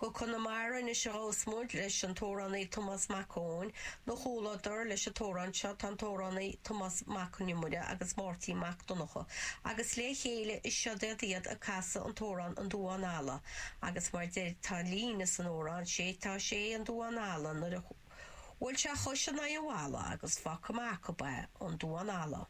Go Conamara anois a ghabhfas muid leis an t-amhránaí Tomás Mac Eoin. 'Na chomhluadar leis an t-amhrán seo tá an t-amhránaí Tomás Mac Con Iomaire agus Máirtín Mac Donncha agus le chéile is seod iad iad ag casadh an t-amhrán An Duán Alla agus mar deir tá líne san amhrán sé tá sé an Duán Alla nuair a bhuail sé a chois in aghaidh an bhalla agus fágtha amach ab ea an Duán Alla.